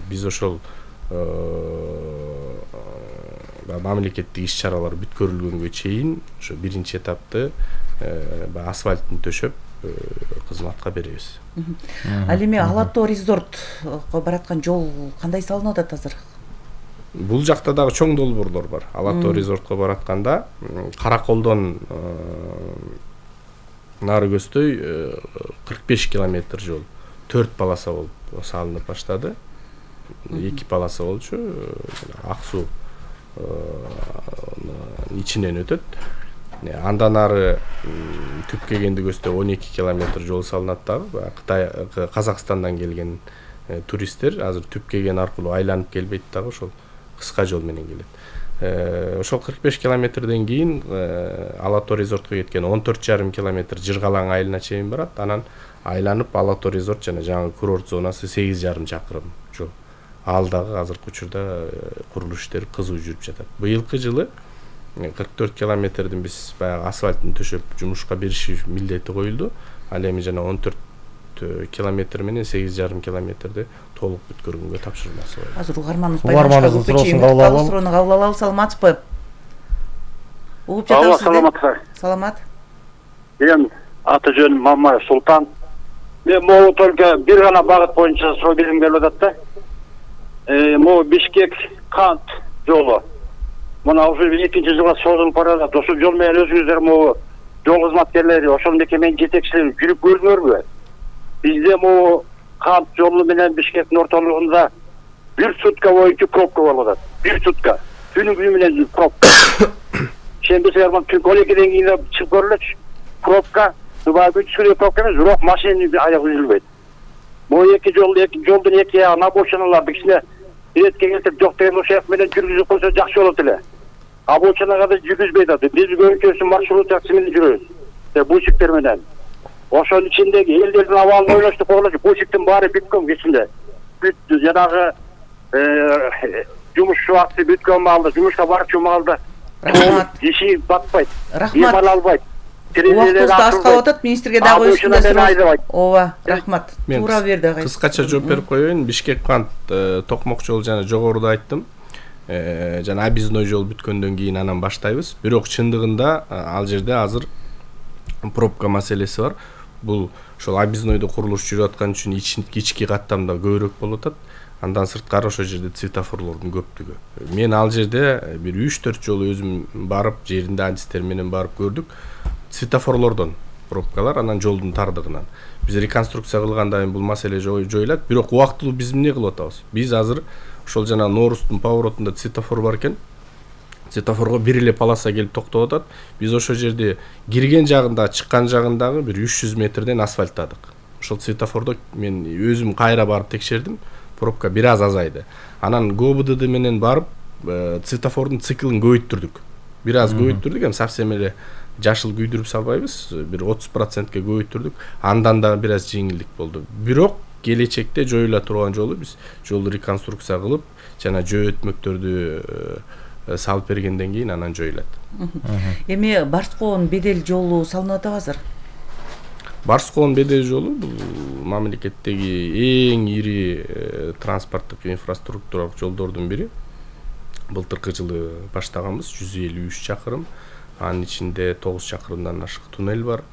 биз ошол мамлекеттик иш-чаралар бүткөрүлгөнгө чейин ошо биринчи этапты асфальтын төшөп кызматка беребиз. Ал эми Ала Тоо резортко бараткан жол кандай салынып атат азыр? Бул жакта дагы чоң долбоорлор бар. Ала Тоо резортко баратканда Караколдон нары көздөй 45 километр жол 4 полоса болуп салынып баштады. 2 полоса болчу. Ак суу ичинен өтөт. Андан ары Түпкегенди көздөй 12 километр жол салынат дагы. Кытай, Казакстандан келген туристтер азыр Түпкеген аркылуу айланып келбейт дагы, ошол кыска жол менен келет. Ошол 45 километрден кийин Ала Тоо резортко кеткен 14,5 километр Жыргалаң айылына чейин барат. Анан айланып Ала Тоо резорт жана жаңы курорт зонасы 8,5 чакырым жол. Ал дагы азыркы учурда курулуш иштери кызуу жүрүп жатат. Быйылкы жылы 44 километрдин биз баягы асфальтын төшөп жумушка бериши милдети коюлду. Ал эми жана 14 километр менен 8,5 километрди толук бүткөргөнгө тапшырмасы бар. Азыр угарманыбыз байланышка суроону кабыл алалы. Саламатсызбы? Угуп жатабыз сизди. Саламат. Мен аты жөнүм Мамаев Султан. Мен могу только бир гана багыт боюнча суроо бергим келип атат да. Могу Бишкек Кант жолу. Мына уже 2-нчи жылга созулуп барат. Ошол жол менен өзүңүздөр могу жол кызматкерлери, ошол мекеменин жетекчилери жүрүп көрдүңөрбү? Бизде могу Кант жолу менен Бишкектин ортолугунда 1 сутка боюнча пробка болуп атат. 1 сутка. Күнү менен пробка. Шембесиңер мына түн 12ден кийин чыгып көрүлөчү. Пробка, күчкү пробка эмес, бирок машинанын аягы үзүлбөйт. Могу эки жолдун эки ягына обочиналарды кичине иретке келтирип жок деген ошол менен жүргүзүп койсо жакшы болот эле. Обочинага да жүргүзбөйт атат. Биз көбүнчөсү маршрут такси менен жүрөбүз. Бусиктер менен. Ошонун ичиндеги элдердин абалын ойлоштук болчу. Бусиктин баары бүткөн кичинде. Бүттү. Жанагы жумуш убакыты бүткөн маалда, жумушка барчу маалда иши батпайт. Рахмат. Эмал албайт. Убактыбыз аз калып атат, министрге дагы өстүндө суроо. Ооба, рахмат. Туура берди агай. Кыскача жооп берип коеюн. Бишкек Кант токмок жол жана жогоруда айттым. Жана объездной жол бүткөндөн кийин анан баштайбыз. Бирок чындыгында ал жерде азыр пробка маселеси бар. Бул ошол объезднойдо курулуш жүрүп аткан үчүн ички каттамда көбүрөөк болуп атат. Андан сырткары ошол жерде светофорлордун көптүгү. Мен ал жерде бир 3-4 жолу өзүм барып, жеринде адистер менен барып көрдүк. Светофорлордон пробкалар, анан жолдун тардыгынан. Биз реконструкция кылганда бул маселе жоюлат. Бирок убактылуу биз эмне кылып атабыз? Биз азыр ошол жана Ноорустун поворотунда светофор бар экен. Светофорго бир эле полоса келип токтоп атат. Биз ошол жерде кирген жагында, чыккан жагындагы бир 300 метрден асфальттадык. Ошол светофордо мен өзүм кайра барып текшердим. Пробка бир аз азайды. Анан ГОБДД менен барып светофордун циклын көбөйттүрдүк. Бир аз көбөйттүрдүк, эми совсем эле жашыл күйдүрүп салбайбыз. Бир 30%ке көбөйттүрдүк. Андан да бир аз жеңилдик болду. Бирок келечекте жоюла турган жолу биз жолду реконструкция кылып, жана жөө өтмөктөрдү салып бергенден кийин анан жоюлат. Эми Барскоонун Бедел жолу салынып атабы азыр? Барскоонун Бедел жолу бул мамлекеттеги эң ири транспорттук инфраструктуралык жолдордун бири. Былтыркы жылы баштаганбыз, 153 чакырым. Анын ичинде 9 чакырымдан ашык туннель бар.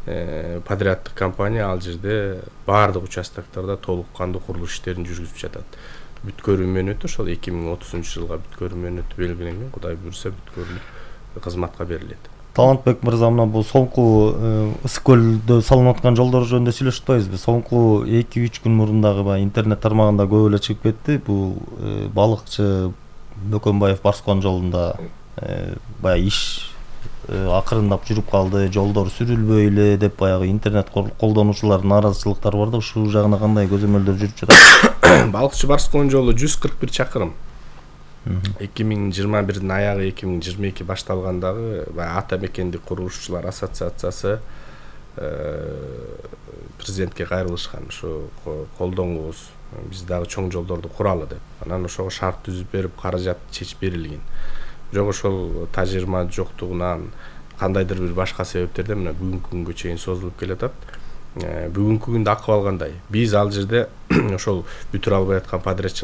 Подряддык компания ал жерде баардык участоктарда толук кандуу курулуш иштерин жүргүзүп жатат. Бүткөрүү мөөнөтү ошол 2030-жылга бүткөрүү мөөнөтү белгиленген. Кудай буйруса бүткөрүлүп кызматка берилет. Талантбек мырза, мына бул соңку Ысык көлдө салынып аткан жолдор жөнүндө сүйлөшүп атпайбызбы? Соңку 2-3 күн мурун дагы интернет тармагында көп эле чыгып кетти. Бул балыкчы Бөкөнбаев Барскоон жолунда баягы иш акырындап жүрүп калды, жолдор сүрүлбөй эле деп баягы интернет колдонуучулардын нааразычылыктары бар да, ушул жагына кандай көзөмөлдөр жүрүп жатат? Балыкчы Барскоон жолу 141 чакырым. 2021-дин аягы 2022 башталгандагы ата мекендик курулушчулар ассоциациясы президентке кайрылышкан, ушу колдоңуңуз, биз дагы чоң жолдорду куралы деп. Анан ошого шарт түзүп берип, каражат чечип берилген. Бирок ошол тажырма жоктугунан кандайдыр бир башка себептерден мына бүгүнкү күнгө чейин созулуп келатат. Бүгүнкү күндө акыбал кандай? Биз ал жерде ошол бүтүрө албай аткан подрядчылар